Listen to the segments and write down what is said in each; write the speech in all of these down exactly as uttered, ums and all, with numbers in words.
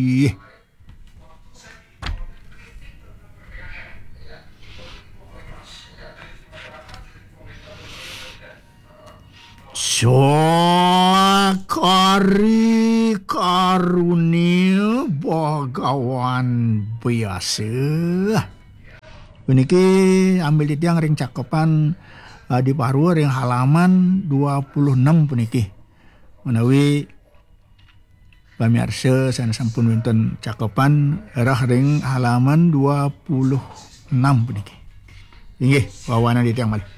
Ih. Sakari karunia Bagawan biasa. Puniki ambil titiang ring cakepan, eh, di Parua ring halaman dua puluh enam puniki. Menawi pamiarsa sane sampun wenten cakepan rah ring halaman dua puluh enam puniki. Inggih, wawanan titiang malih.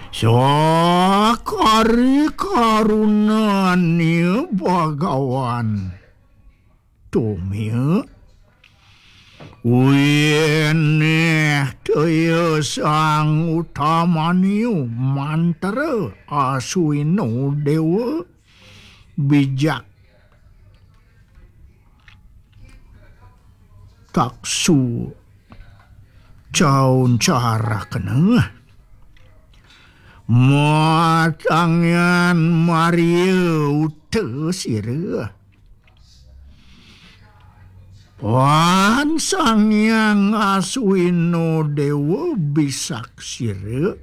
Sakari karunania Bagawan. Tumia. Winih taya sang utamaniu mantra aswino dewa bijak taksu caun carakena. Matangian Maria uta sira. Pan Sang Hyang Aswino Dewa bisaksira,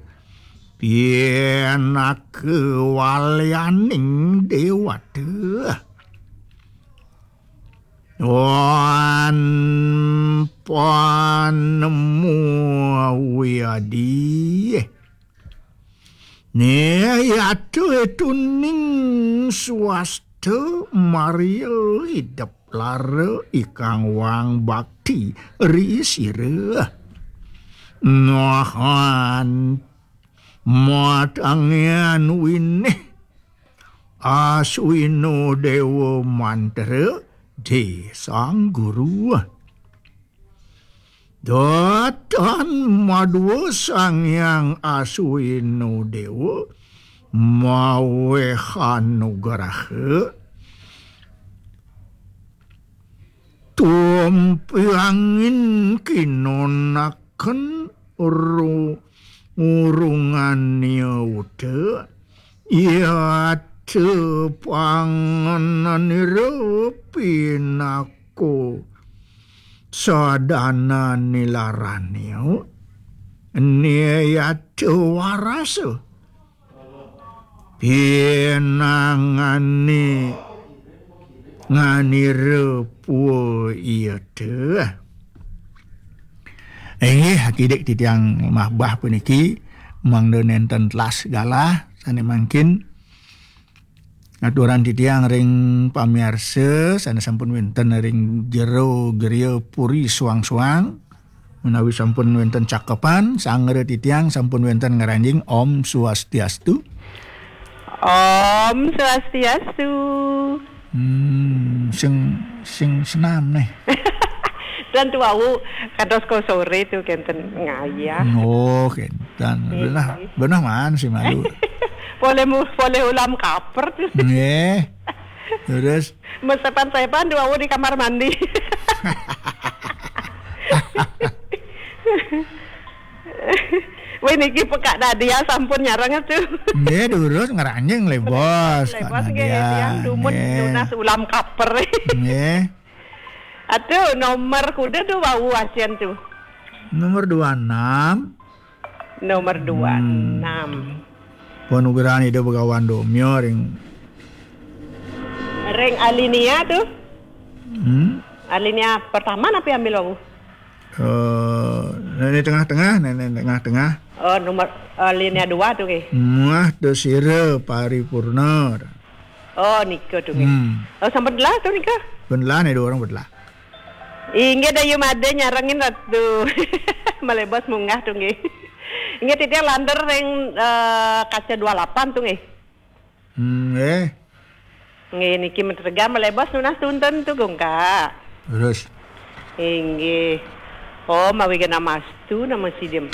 pinaka walyaning dewata. Wan panemu wiadi. Niyata tuning swasta Maria idep lara ikang wang bakti ri sira. Nahan matangian winih aswino dewa mantra di sang guru. Datan madwa Sang Hyang Aswino Dewa maweh anugraha tumpiangin kinonaken ru-, urungania uta, yata pangananira pinaka sadana nilarania, niyata warasa pinangani nganira pua iyata. Inggih, akidik titiang mabah puniki, mangda nenten telas galah, sane mangkin aturan titiang ring pamiarsa sane sampun wenten ring jero griya puri suang-suang, menawi sampun wenten cakepan, sanggra titiang sampun wenten ngranjing. Om Swastiastu. Om Swastiastu. Hmm, sing, sing senam nih. Dan tu wau kados ko sore tu kenten ngayah. Oh, kenten. Nggih. Benah, benah man si malu. Boleh mu-, boleh ulam kaper tu. Nggih. Terus? Mesepan-sepan tu wau di kamar mandi. Wih, niki pekak Nadia sampun nyareng tu. Nggih, durus ngranjing le, Bos. Le, Kak Bos, nggih, Nadia. Tiang dumun nggih. Nunas ulam kaper. Nggih. Atuh, nomor kuda tu wau asian tu. Nomor dua enam. Nomor dua enam. Hmm. Panugrahan Ida Bagawan Domya ring ring alinea tu. Hmm? Alinea pertama napi ambil wau? Eh, nenek tengah-tengah, nenek tengah-tengah. Oh, nomor, eh, alinea dua tu, nggih. Muah tu sira paripurna. Oh, nika tu, nggih. Hmm. Oh, sampun telah tu nika? Pun telah nih, dua orang pun telah. Inggih, Dayu Made nyarengin Ratu. Malebos munggah tu, nggih. Inggih, titiang lantur ring, eh, kaca dua lapan tu, nggih. Hmm, nggih. Nggih, niki menterga malebos nunas tuntun tu, Gungka. Terus? Inggih. Oh, mawi gena mastu nama sidim.